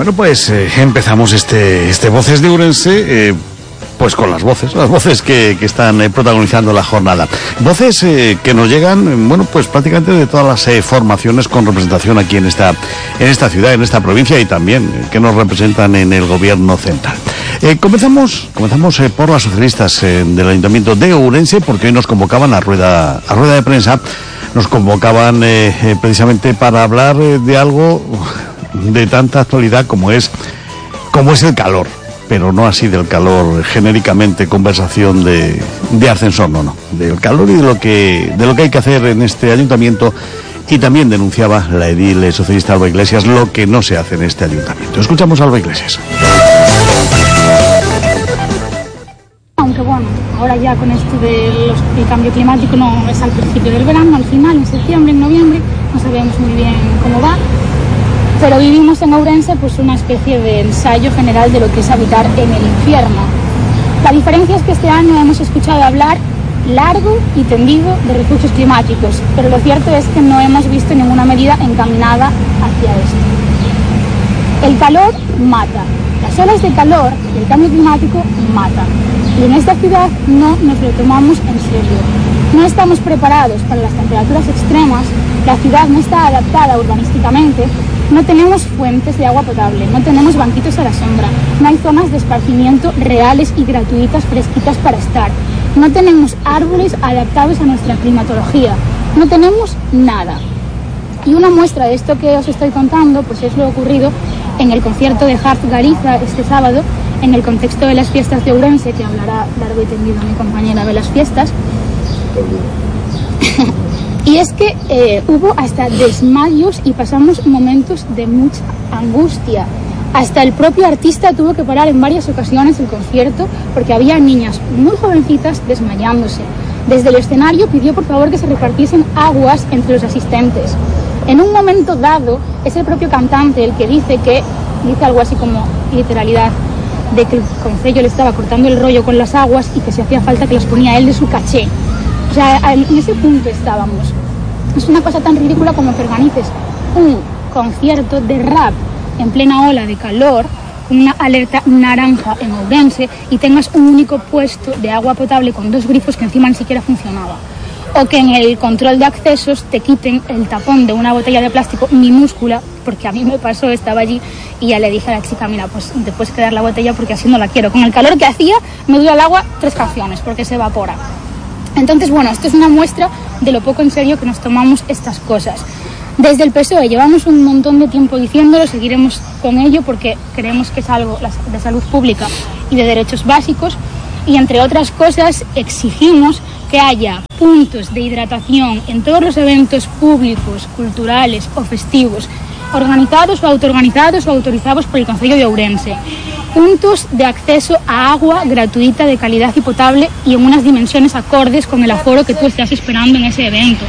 Bueno, pues empezamos este Voces de Ourense, pues con las voces que están protagonizando la jornada. Voces que nos llegan, bueno, pues prácticamente de todas las formaciones con representación aquí en esta ciudad, en esta provincia, y también que nos representan en el gobierno central. Comenzamos por las socialistas del Ayuntamiento de Ourense, porque hoy nos convocaban a rueda de prensa, nos convocaban precisamente para hablar de algo de tanta actualidad como es el calor, pero no así del calor genéricamente, conversación de ascensor, no, del calor y de lo que hay que hacer en este ayuntamiento. Y también denunciaba la edil socialista Alba Iglesias lo que no se hace en este ayuntamiento. Escuchamos a Alba Iglesias. Aunque bueno, ahora ya con esto del cambio climático no es al principio del verano, al final, en septiembre, en noviembre, no sabemos muy bien cómo va. Pero vivimos en Ourense pues una especie de ensayo general de lo que es habitar en el infierno. La diferencia es que este año hemos escuchado hablar largo y tendido de refugios climáticos, pero lo cierto es que no hemos visto ninguna medida encaminada hacia esto. El calor mata, las olas de calor y el cambio climático matan. Y en esta ciudad no nos lo tomamos en serio. No estamos preparados para las temperaturas extremas, la ciudad no está adaptada urbanísticamente. No tenemos fuentes de agua potable, no tenemos banquitos a la sombra, no hay zonas de esparcimiento reales y gratuitas fresquitas para estar, no tenemos árboles adaptados a nuestra climatología, no tenemos nada. Y una muestra de esto que os estoy contando pues es lo ocurrido en el concierto de Hart Galiza este sábado, en el contexto de las fiestas de Ourense, que hablará largo y tendido mi compañera de las fiestas. Y es que hubo hasta desmayos y pasamos momentos de mucha angustia. Hasta el propio artista tuvo que parar en varias ocasiones el concierto porque había niñas muy jovencitas desmayándose. Desde el escenario pidió por favor que se repartiesen aguas entre los asistentes. En un momento dado es el propio cantante el que dice algo así como literalidad, de que el concello le estaba cortando el rollo con las aguas y que si hacía falta que las ponía él de su caché. O sea, en ese punto estábamos. Es una cosa tan ridícula como que organices un concierto de rap en plena ola de calor, con una alerta naranja en Ourense, y tengas un único puesto de agua potable con 2 grifos que encima ni siquiera funcionaba. O que en el control de accesos te quiten el tapón de una botella de plástico minúscula, porque a mí me pasó, estaba allí y ya le dije a la chica, mira, pues te puedes quedar la botella porque así no la quiero. Con el calor que hacía me dura el agua 3 canciones porque se evapora. Entonces, bueno, esto es una muestra de lo poco en serio que nos tomamos estas cosas. Desde el PSOE llevamos un montón de tiempo diciéndolo, seguiremos con ello porque creemos que es algo de salud pública y de derechos básicos, y entre otras cosas exigimos que haya puntos de hidratación en todos los eventos públicos, culturales o festivos, organizados o autoorganizados o autorizados por el Concello de Ourense. Puntos de acceso a agua gratuita, de calidad y potable, y en unas dimensiones acordes con el aforo que tú estás esperando en ese evento.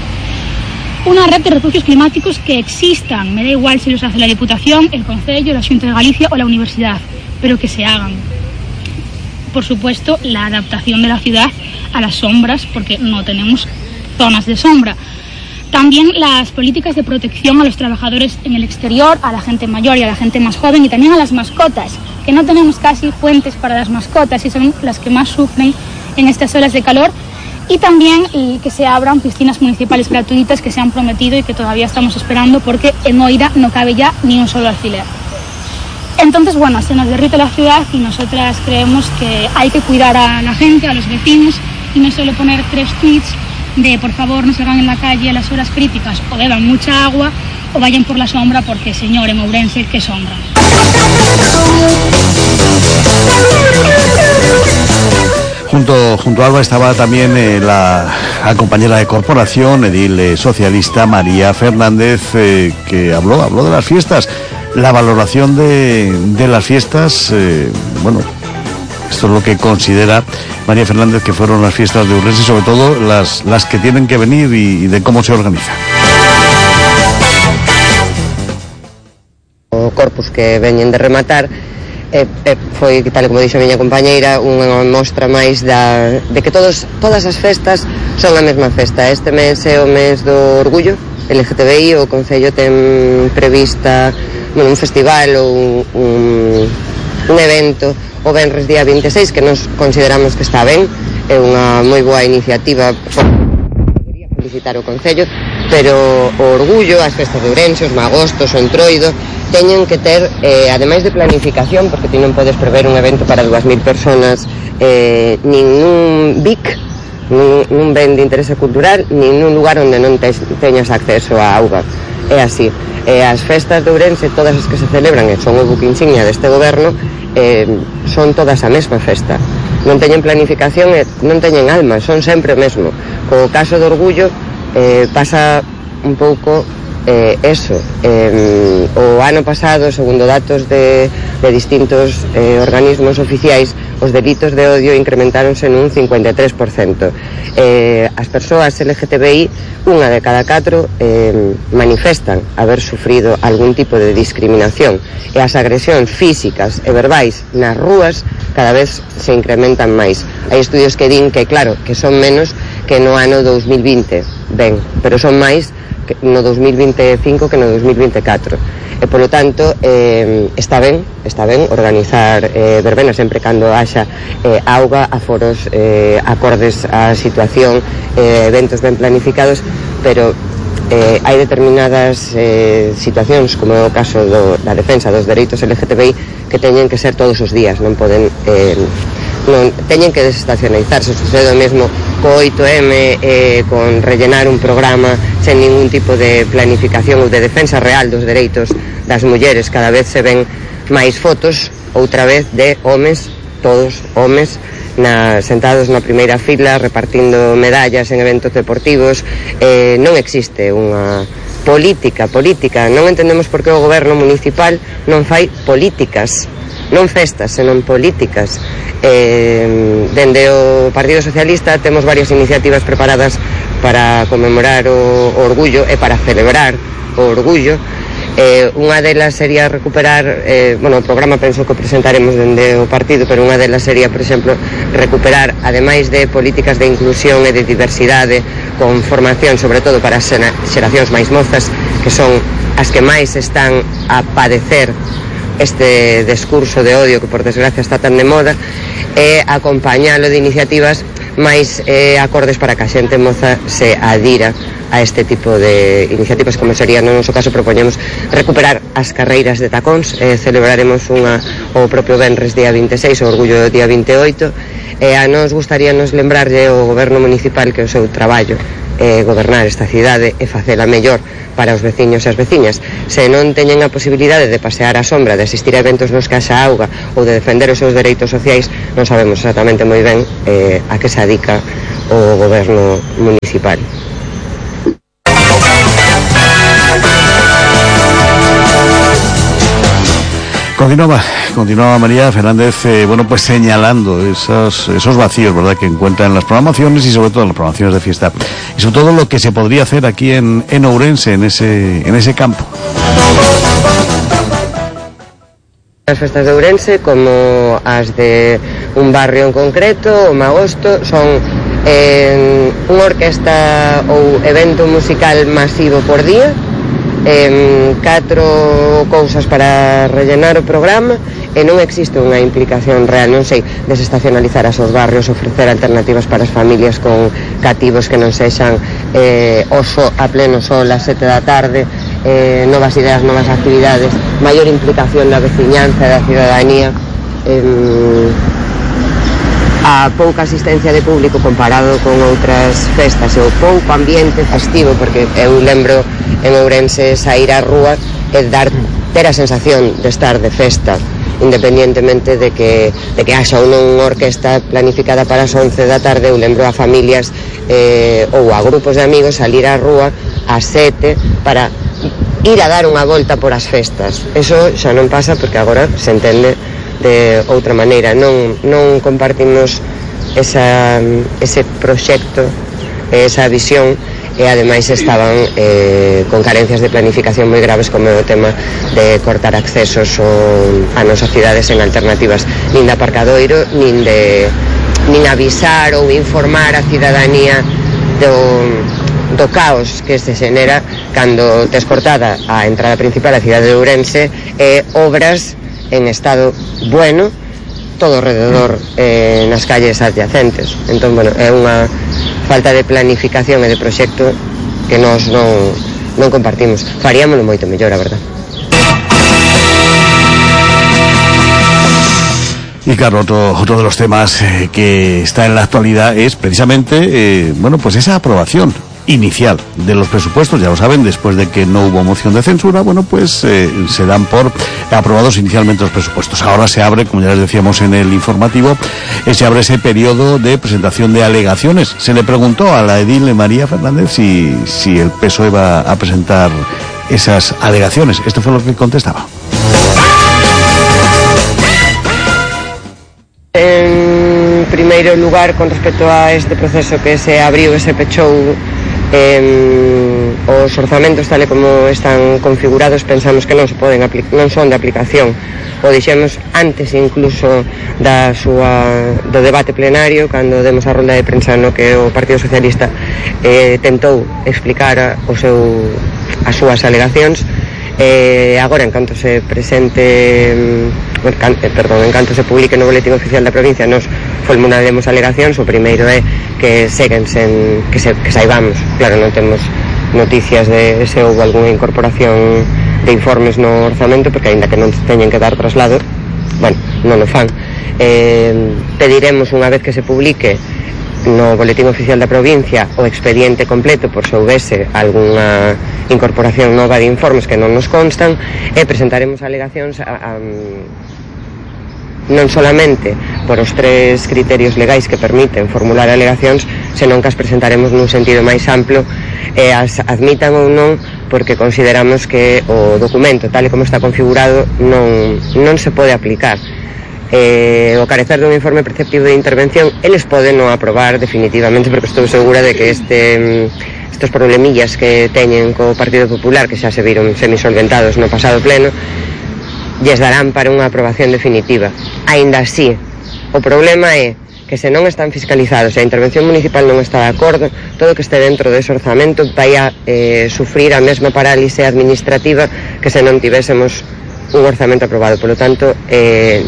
Una red de refugios climáticos que existan, me da igual si los hace la Diputación, el Concello, la Xunta de Galicia o la Universidad, pero que se hagan. Por supuesto, la adaptación de la ciudad a las sombras, porque no tenemos zonas de sombra. También las políticas de protección a los trabajadores en el exterior, a la gente mayor y a la gente más joven, y también a las mascotas, que no tenemos casi fuentes para las mascotas y son las que más sufren en estas olas de calor. Y también que se abran piscinas municipales gratuitas que se han prometido y que todavía estamos esperando porque en Oira no cabe ya ni un solo alfiler. Entonces, bueno, se nos derrite la ciudad y nosotras creemos que hay que cuidar a la gente, a los vecinos, y no solo poner 3 tweets de por favor no salgan en la calle a las horas críticas, o beban mucha agua o vayan por la sombra, porque señor, en Ourense, ¿qué sombra? Junto a Alba estaba también la compañera de corporación, edil socialista María Fernández, que habló de las fiestas, la valoración de las fiestas. Bueno, esto es lo que considera María Fernández que fueron las fiestas de Ourense, sobre todo las que tienen que venir y de cómo se organiza. O corpus que veñen de rematar foi, tal como dixo a miña compañeira, unha mostra máis de que todas as festas son a mesma festa. Este mes é o mes do orgullo LGTBI, o Concello ten prevista un festival ou un evento o venres día 26 que nos consideramos que está ben, é unha moi boa iniciativa, debería felicitar o Concello, pero o Orgullo, as festas de Ourense, os Magostos, o Entroido teñen que ter, ademais de planificación, porque ti non podes prever un evento para 2.000 personas nin nun BIC, nun ben de interese cultural, nin nun lugar onde non teñas acceso á auga. É así. As festas de Ourense, todas as que se celebran e son o buque insignia deste goberno, son todas a mesma festa. Non teñen planificación e non teñen alma, son sempre o mesmo. Co caso do Orgullo pasa un pouco eso. O ano pasado, segundo datos de distintos organismos oficiais, os delitos de odio incrementáronse nun 53%. As persoas LGTBI, unha de cada 4 manifestan haber sufrido algún tipo de discriminación, e as agresións físicas e verbais nas rúas cada vez se incrementan máis. Hai estudios que din que, claro, que son menos que no ano 2020, ben, pero son máis no 2025 que no 2024, e polo tanto está ben organizar verbenas sempre cando haxa auga, aforos acordes á situación, eventos ben planificados, pero hai determinadas situacións, como é o caso da defensa dos dereitos LGTBI, que teñen que ser todos os días, non poden non teñen que desestacionalizarse. Sucede o mesmo co 8M, con rellenar un programa sen ningún tipo de planificación ou de defensa real dos dereitos das mulleres. Cada vez se ven máis fotos, outra vez, de homes, todos homes, sentados na primeira fila repartindo medallas en eventos deportivos. Non existe unha política, non entendemos por que o goberno municipal non fai políticas, non festas, senón políticas. Dende o Partido Socialista temos varias iniciativas preparadas para conmemorar o Orgullo e para celebrar o Orgullo. Unha delas sería recuperar, o programa penso que presentaremos dende o partido, pero unha delas sería, por exemplo, recuperar, ademais de políticas de inclusión e de diversidade, con formación sobre todo para as xeracións máis mozas, que son as que máis están a padecer este discurso de odio que por desgracia está tan de moda, e acompañalo de iniciativas máis acordes para que a xente moza se adira a este tipo de iniciativas, como sería no noso caso. Propoñemos recuperar as carreiras de tacóns, celebraremos unha o propio venres día 26, o Orgullo día 28, e a nos gustaríanos lembrarlle ao goberno municipal que o seu traballo gobernar esta cidade e facela mellor para os veciños e as veciñas. Se non teñen a posibilidade de pasear á sombra, de asistir a eventos nos que haxa auga ou de defender os seus dereitos sociais, non sabemos exactamente moi ben a que se adica o goberno municipal. Continuaba María Fernández, pues señalando esos vacíos, ¿verdad?, que encuentra en las programaciones y sobre todo en las programaciones de fiesta, y sobre todo lo que se podría hacer aquí en Ourense, en ese campo. As festas de Ourense, como as de un barrio en concreto, o Magosto, son unha orquesta ou evento musical masivo por día, 4 cousas para rellenar o programa, e non existe unha implicación real, non sei, desestacionalizar as os barrios, ofrecer alternativas para as familias con cativos que non sexan oso a pleno sol a 7 da tarde, novas ideas, novas actividades, maior implicación da veciñanza e da cidadanía. A pouca asistencia de público comparado con outras festas, e o pouco ambiente festivo, porque eu lembro en Ourense sair á rúa e ter a sensación de estar de festa, independientemente de que haxa ou non unha orquesta planificada para as 11 da tarde. Eu lembro a familias ou a grupos de amigos salir á rúa ás 7 para ir a dar unha volta por as festas. Eso xa non pasa, porque agora se entende de outra maneira. Non compartimos ese proxecto, esa visión, e ademais estaban con carencias de planificación moi graves, como é o tema de cortar accesos a nosas cidades en alternativas nin de aparcadoiro, nin avisar ou informar a cidadanía do caos que se xenera cando tes cortada a entrada principal da cidade de Ourense e obras en estado bueno todo alrededor nas calles adyacentes. Entón, bueno, é unha falta de planificación e de proxecto que nós non compartimos. Faríamoslo moito mellor, a verdad. Y claro, otro de los temas que está en la actualidad es precisamente, bueno, pues esa aprobación inicial de los presupuestos. Ya lo saben, después de que no hubo moción de censura, bueno, pues se dan por aprobados inicialmente los presupuestos. Ahora se abre, como ya les decíamos en el informativo, se abre ese periodo de presentación de alegaciones. Se le preguntó a la edil María Fernández si el PSOE va a presentar esas alegaciones. Esto fue lo que contestaba. En primeiro lugar, con respecto a este proceso que se abriu e se pechou, os orzamentos tal e como están configurados pensamos que non son de aplicación. O dixemos antes incluso do debate plenario, cando demos a rolda de prensa no que o Partido Socialista tentou explicar as súas alegacións. Agora, en canto se presente en canto se publique no boletín oficial da provincia, nos formularemos alegacións. O primeiro é que seguen sen que saibamos, claro, non temos noticias de se houve algunha incorporación de informes no orzamento, porque aínda que non teñen que dar traslado, bueno, non o fan. Pediremos unha vez que se publique no boletín oficial da provincia o expediente completo por se houvese algunha incorporación nova de informes que non nos constan, e presentaremos alegacións non solamente por os 3 criterios legais que permiten formular alegacións, senón que as presentaremos nun sentido máis amplo e as admitan ou non, porque consideramos que o documento tal e como está configurado non se pode aplicar. O carecer dun informe preceptivo de intervención, eles poden non aprobar definitivamente, porque estou segura de que estes problemillas que teñen co Partido Popular, que xa se viron semisolventados no pasado pleno, lles darán para unha aprobación definitiva. Aínda así, o problema é que se non están fiscalizados e a intervención municipal non está de acordo, todo o que este dentro dese orzamento vai a sufrir a mesma parálise administrativa que se non tivésemos un orzamento aprobado. Polo tanto,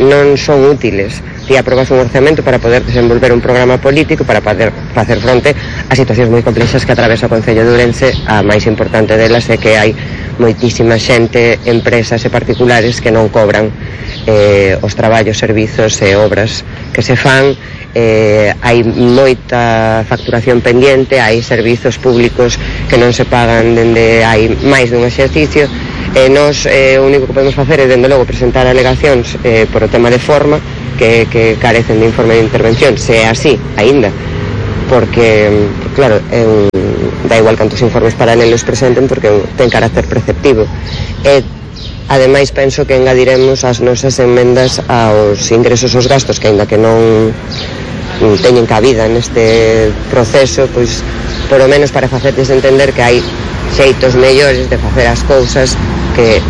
non son útiles ti aprobas un orzamento para poder desenvolver un programa político para poder facer fronte a situacións moi complexas que atravesa o Concello de Ourense. A máis importante delas é que hai moitísima xente, empresas e particulares que non cobran os traballos, servizos e obras que se fan. Hai moita facturación pendiente, hai servizos públicos que non se pagan dende hai máis dun exercicio. Nos o único que podemos facer é, dende logo, presentar alegacións por o tema de forma que carecen de informe de intervención, se é así, aínda, porque, claro, dá igual cantos informes paralelos presenten, porque ten carácter preceptivo. Ademais, penso que engadiremos as nosas enmendas aos ingresos e os gastos, que aínda que non teñen cabida neste proceso, pois, por lo menos para facerles entender que hai xeitos mellores de facer as cousas que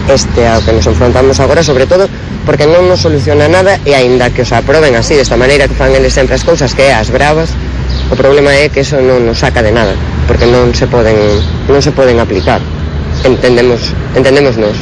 ao que nos enfrontamos agora, sobre todo porque non nos soluciona nada, e aínda que os aproben así, desta maneira que fan eles sempre as cousas, que é as bravas, o problema é que eso non nos saca de nada, porque non se poden aplicar. Entendemos nós.